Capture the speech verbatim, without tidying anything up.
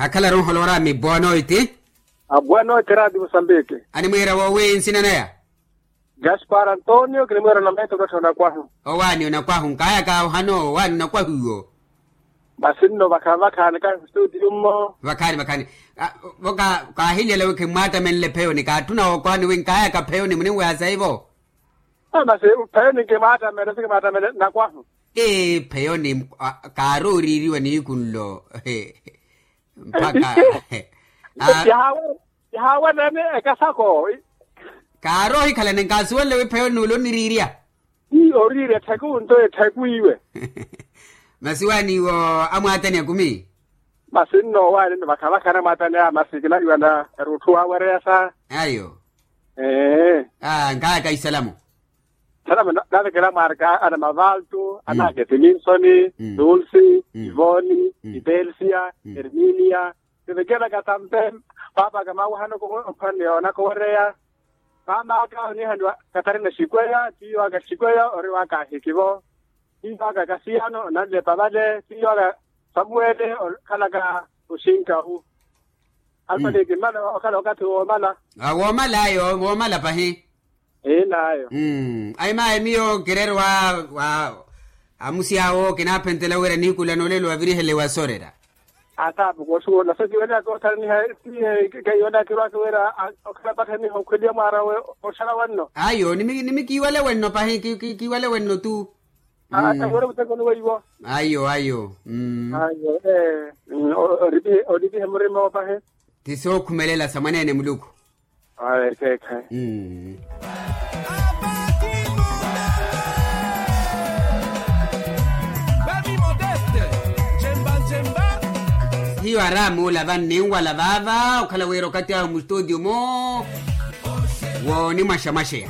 Akhalaru onholowa orami boa noiti. Aboa noiti raadi musambiki. Animwiira woowi nsina naya? Gaspar antonio kinimwiira nameto katthi onakwahu. Owaani onakwahu nkaayaka ohano owaani onakwahu iwo. Masi nno vakhaani vakhaani kahi studio mmo. Vakhaani vakhaani. Vo kaahiliyela wi khimmwaatamenle pheyoni kaatthuna wookowaani wi nkaayaka pheyoni muninweha saivo. Masi pheyoni nkimwaatamene sikimwaatamene nakwahu. Ee pheyoni. Kaarooriiriwa niiku nlo. Mpakha. Kihaaweneene ekasako. Kaaroohikhalane nkaasuwenle wi pheyoni nuule oniriirya. Ii oriirya etthaku nto etthaku iwe. Masi waaniiwo amwaatani akumi. Masi nno waani nno vakhavakha anamwaatani aya masi kinaliwana erutthu waawereya sa. Ayo. Ee. Nkaayaka isalamu. Salama navekela mwaarika ana mavaltu ana aketiminsoni, tulsi, ivoni, itelsia, erminia. Nivekelaka tampe. Paapaka maawihana ophwaniya onaka owereya. Maamaka onihaniwa katarina xikweya tiiwaka xikweya ori waka ahikivo. Tiiwaka kasiyano onanlepa vale tiiwaka samuwele okhalaka oxinkahu. Alpaliki mmala okhala okathi woomala. Woomala ayo woomala pahi. Enayo. Ayi mayi miyo kireerwa wa amusi awo kinaaphentela wira niikulana olelo wavirihele wasorera. Ataapuku osuwela so kiiweleyaka otharaniha. Keiweleyaka kirwaka wira okhala pathaniha okhweliya mwaarawe. Oxala wenno. Ayo nimi kiiwale wenno pahi kiiwale wenno tu. Ayo ayo. Olipihe murima opahe. Ti sookhumelela sa mwaneene muluku. Ayo ekeekhayi. Hiyo aramuula vanninwala vaava okhala wira okathi ahu mustutio mo. Woonimwaxamwaxeya.